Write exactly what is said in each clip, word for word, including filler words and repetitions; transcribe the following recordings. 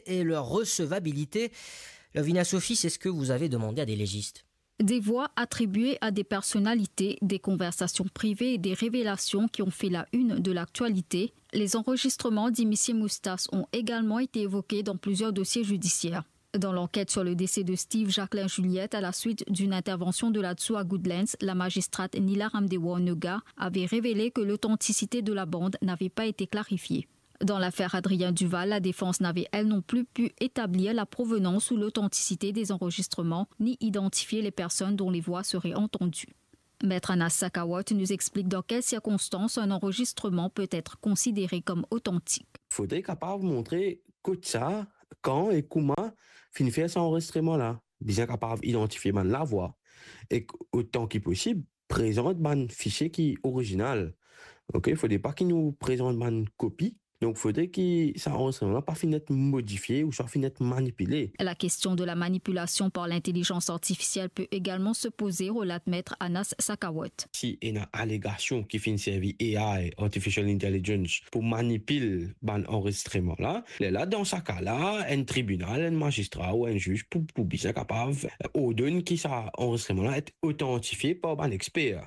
et leur recevabilité. Lovina Sophie, c'est ce que vous avez demandé à des légistes. Des voix attribuées à des personnalités, des conversations privées et des révélations qui ont fait la une de l'actualité. Les enregistrements d'Imissier Moustache ont également été évoqués dans plusieurs dossiers judiciaires. Dans l'enquête sur le décès de Steve Jacquelin Juliette à la suite d'une intervention de la DSOU à Goodlands, la magistrate Nila Ramdewa Noga avait révélé que l'authenticité de la bande n'avait pas été clarifiée. Dans l'affaire Adrien Duval, la défense n'avait elle non plus pu établir la provenance ou l'authenticité des enregistrements, ni identifier les personnes dont les voix seraient entendues. Maître Anas Sakawat nous explique dans quelles circonstances un enregistrement peut être considéré comme authentique. Fodre kapav montre kot sa, kan e kouma finn fer sa anrezistreman la. Bizin kapav idantifie bann lavwa. E otan ki posib, prezant bann fisie ki orizinal. Ok, fodre pa ki nou prezant bann kopi. Donk, fodre ki sa anrezistreman la pa finn et modifie ouswa finn et manipile. La question de la manipulation par l'intelligence artificielle peut également se poser, relate Maître Anas Sakawat. Si ena alegasion ki finn servi A I, artificial intelligence, pou manipil bann anrezistreman la, lerla, dan sa ka la, enn tribinal, enn mazistra ou enn ziz pou, pou bizin kapav ordonn ki sa anrezistreman la et otantifie par bann exper.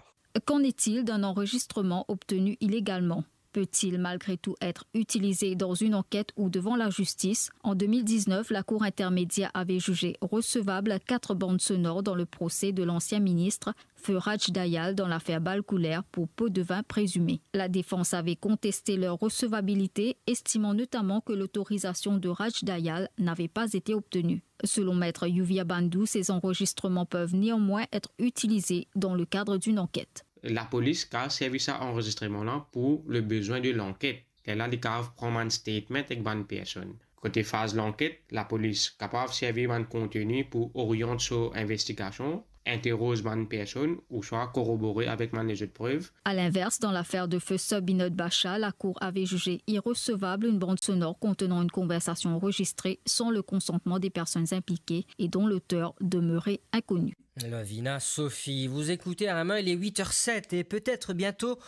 Qu'en est-il d'un enregistrement obtenu illégalement ? Peut-il malgré tout être utilisé dans une enquête ou devant la justice ? En deux mille dix-neuf, la Cour intermédiaire avait jugé recevable quatre bandes sonores dans le procès de l'ancien ministre Feu Raj Dayal dans l'affaire Bal Kouleur pour pot de vin présumé. La défense avait contesté leur recevabilité, estimant notamment que l'autorisation de Raj Dayal n'avait pas été obtenue. Selon Maître Yuvia Bandhu, ces enregistrements peuvent néanmoins être utilisés dans le cadre d'une enquête. Lapolis kav servi sa anrezistreman la pou le bezwin de lanket. Lerla li kav pran bann statement ek bann personn. Kote faz lanket, lapolis kapav servi bann konteni pou oriant so investigasion, interoz bann personn ouswa korobore avek bann lezot prev. À l'inverse, dans l'affaire de feu Sir Binod Bacha, la Cour avait jugé irrecevable une bande sonore contenant une conversation enregistrée sans le consentement des personnes impliquées et dont l'auteur demeurait inconnu. Lovina Sophie, vous écoutez à la main, il est huit heures sept et peut-être bientôt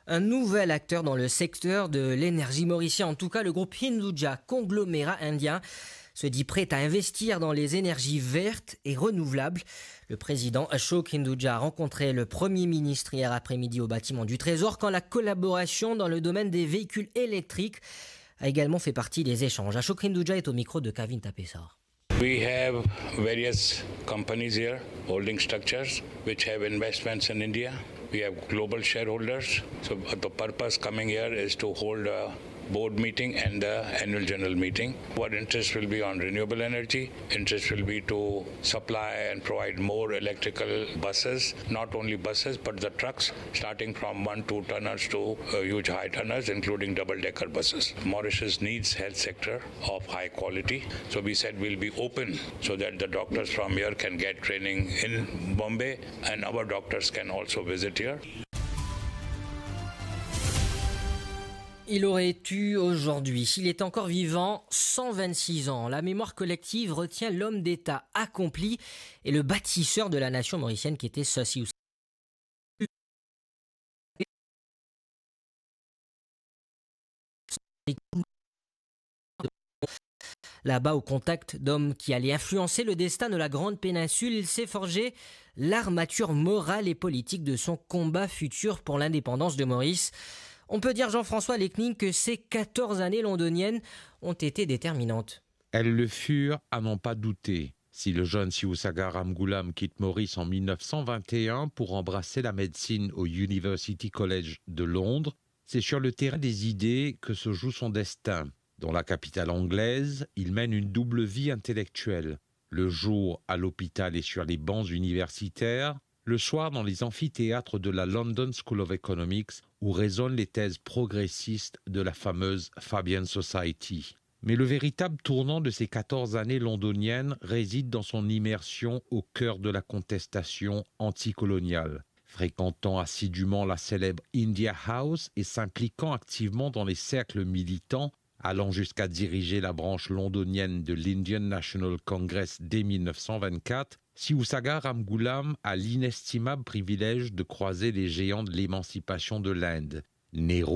un nouvel acteur dans le secteur de l'énergie mauricien. En tout cas, le groupe Hinduja, conglomérat indien, se dit prêt à investir dans les énergies vertes et renouvelables. Le président Ashok Hinduja a rencontré le Premier ministre hier après-midi au bâtiment du Trésor, quand la collaboration dans le domaine des véhicules électriques a également fait partie des échanges. Ashok Hinduja est au micro de Kavin Tapessar. We have various companies here, holding structures, which have investments in India. We have global shareholders. So the purpose coming here is to hold a board meeting and the annual general meeting. Our interest will be on renewable energy. Interest will be to supply and provide more electrical buses, not only buses, but the trucks, starting from one, two tonners to, uh, huge high tonners, including double decker buses. Mauritius needs health sector of high quality. So we said we'll be open so that the doctors from here can get training in Bombay and our doctors can also visit here. Il aurait eu aujourd'hui, s'il est encore vivant, cent vingt-six ans. La mémoire collective retient l'homme d'État accompli et le bâtisseur de la nation mauricienne qui était Sir Sioussa. Là-bas, au contact d'hommes qui allaient influencer le destin de la Grande Péninsule, il s'est forgé l'armature morale et politique de son combat futur pour l'indépendance de Maurice. On peut dire, Jean-François Lecning, que ces quatorze années londoniennes ont été déterminantes. Elles le furent à n'en pas douter. Si le jeune Siousagar Ramgoolam quitte Maurice en mille neuf cent vingt et un pour embrasser la médecine au University College de Londres, c'est sur le terrain des idées que se joue son destin. Dans la capitale anglaise, il mène une double vie intellectuelle. Le jour, à l'hôpital et sur les bancs universitaires, le soir dans les amphithéâtres de la London School of Economics, où résonnent les thèses progressistes de la fameuse Fabian Society. Mais le véritable tournant de ces quatorze années londoniennes réside dans son immersion au cœur de la contestation anticoloniale. Fréquentant assidûment la célèbre India House et s'impliquant activement dans les cercles militants, allant jusqu'à diriger la branche londonienne de l'Indian National Congress dès mille neuf cent vingt-quatre, Siousagar Ramgoolam a l'inestimable privilège de croiser les géants de l'émancipation de l'Inde, Nehru,